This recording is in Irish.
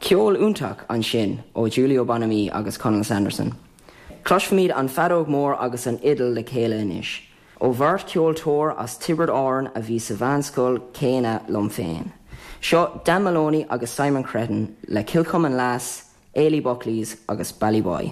Ceol iontach ansin ó Giulio Bonami agus Conall Sanderson. Cloisfimid an feadóg mór agus an fhidil le chéile anois, ó bheirt cheoltóir as Tiobraid Árann a bhí sa mheánscoil céanna liom féin. Seo Dan Moloney agus Simon Cretton le Kilcummin Lass, Eilí Buckley's agus Ballyboy.